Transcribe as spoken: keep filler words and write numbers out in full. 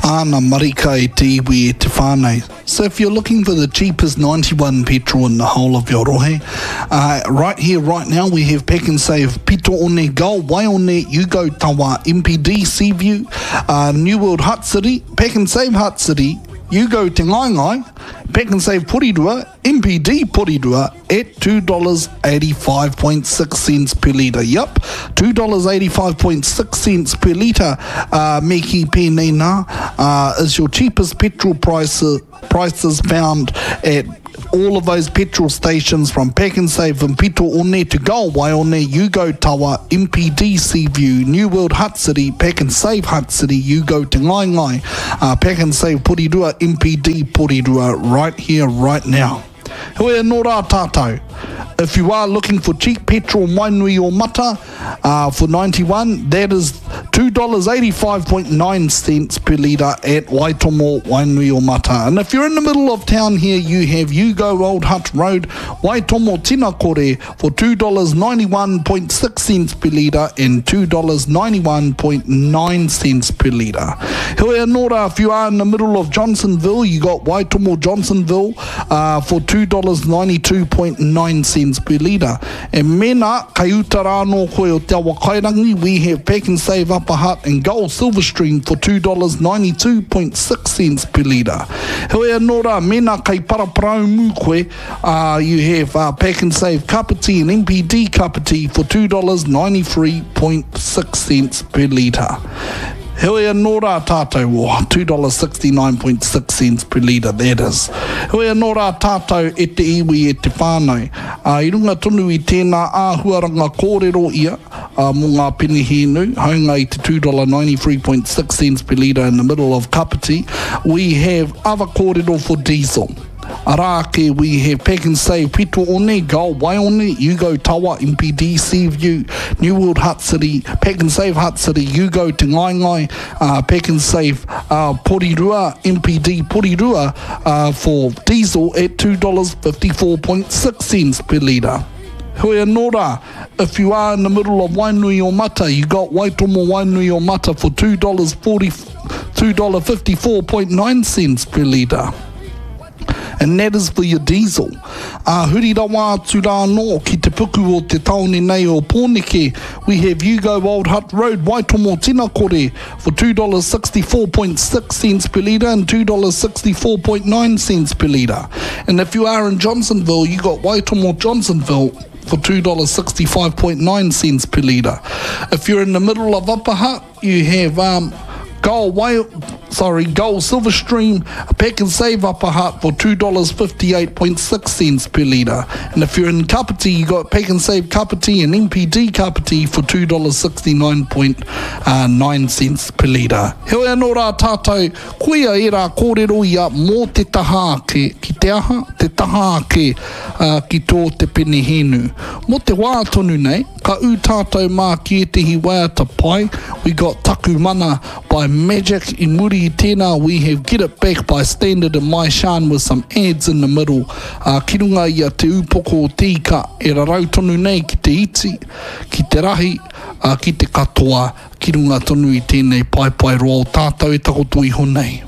Āna marika e te iwi e te whānau. So if you're looking for the cheapest ninety-one petrol in the whole of your rohe, uh, right here, right now, we have Pak'nSave, Pito One, Gull, Waione, Yugo Tawa, M P D, Seaview, uh, New World Hutt City, Pak'nSave Hutt City, Yugo Te Ngaengae, Pak'nSave Porirua, M P D Porirua at two dollars eighty-five point six cents per litre. Yep, two dollars eighty-five point six cents per litre, uh, me ki pēnei nā, uh, is your cheapest petrol price, prices found at all of those petrol stations from Pak'nSave and Pito One to Gull Waione, Yugo Tawa, M P D Seaview, New World Hutt City, Pak'nSave Hutt City, Yugo Te Ngaengae, uh, Pak'nSave Porirua, M P D Porirua, right here, right now. Hoi anō rā tātou. If you are looking for cheap petrol Wainui o Mata, uh, for ninety-one, that is two dollars eighty-five point nine cents per litre at Waitomo Wainui o Mata. And if you're in the middle of town here, you have Yugo Old Hutt Road, Waitomo Tinakore for two dollars ninety-one point six cents per litre and two dollars ninety-one point nine cents per litre. Hoi anō rā, if you are in the middle of Johnsonville, you got Waitomo Johnsonville, uh, for two dollars ninety-two point nine cents per litre. And mena, kai uta rā nō koe o Te Awakairangi, we have Pak'nSave Upper Hutt and Gull Silverstream for two dollars ninety-two point six cents per litre. Hoi anō rā, mena kai paraparaumu koe, uh, you have, uh, Pak'nSave Kapiti and M P D Kapiti for two dollars ninety-three point six cents per litre. Hoi anō rā tātou, oh, two dollars sixty-nine point six cents per litre, that is. Hoi anō rā tātou e te iwi e te whānau. Uh, i runga tonu i tēnā āhuaranga kōrero ia, uh, mō ngā penihēnu, haunga i te two dollars ninety-three point six cents per litre in the middle of Kapiti, we have other kōrero for diesel. Arā ake, we have Pak'nSave Pito One, Gull Waione, Yugo Tawa, M P D Seaview, New World Hutt City, Pak'nSave Hutt City, Yugo Te Ngaengae, uh, Pak'nSave, uh, Porirua, M P D Porirua, uh, for diesel at two dollars fifty-four point six cents per litre. Hoi anō rā, if you are in the middle of Wainui o Mata, you got Waitomo Wainui o Mata for two dollars forty, two dollars fifty-four point nine cents per litre. And that is for your diesel. Uh, huri rawa atu rā anō ki te puku o te taone nei o Pōneke, we have Yugo Old Hutt Road, Waitomo Tinakore for two dollars sixty-four point six cents per litre and two dollars sixty-four point nine cents per litre. And if you are in Johnsonville, you got Waitomo Johnsonville for two dollars sixty-five point nine cents per litre. If you're in the middle of Upper Hutt, you have, um, Gull Whale, sorry, Gull Silverstream, Pak'nSave Upper Hutt for two dollars fifty-eight point six cents per litre. And if you're in Kapiti, you got Pak'nSave Kapiti and M P D Kapiti for two dollars sixty-nine point nine cents per litre. Heoi anō rā tātou, koia e rā kōrero ia mō te taha ake, ki te aha, te taha ake, uh, ki tō te penihēnu. Mō te wā tonu nei, ka ū tātou mā ki ētehi waiata pai. We got Taku Mana by Magic. I muri i tēnā, we have Get It Back by Standard and Mai Shan with some ads in the middle. Uh, ki runga ia te upoko o te ika e rarau tonu nei ki te iti, ki te rahi, uh, ki te katoa, ki runga tonu i tēnei paepae roa o tātou e takoto iho nei.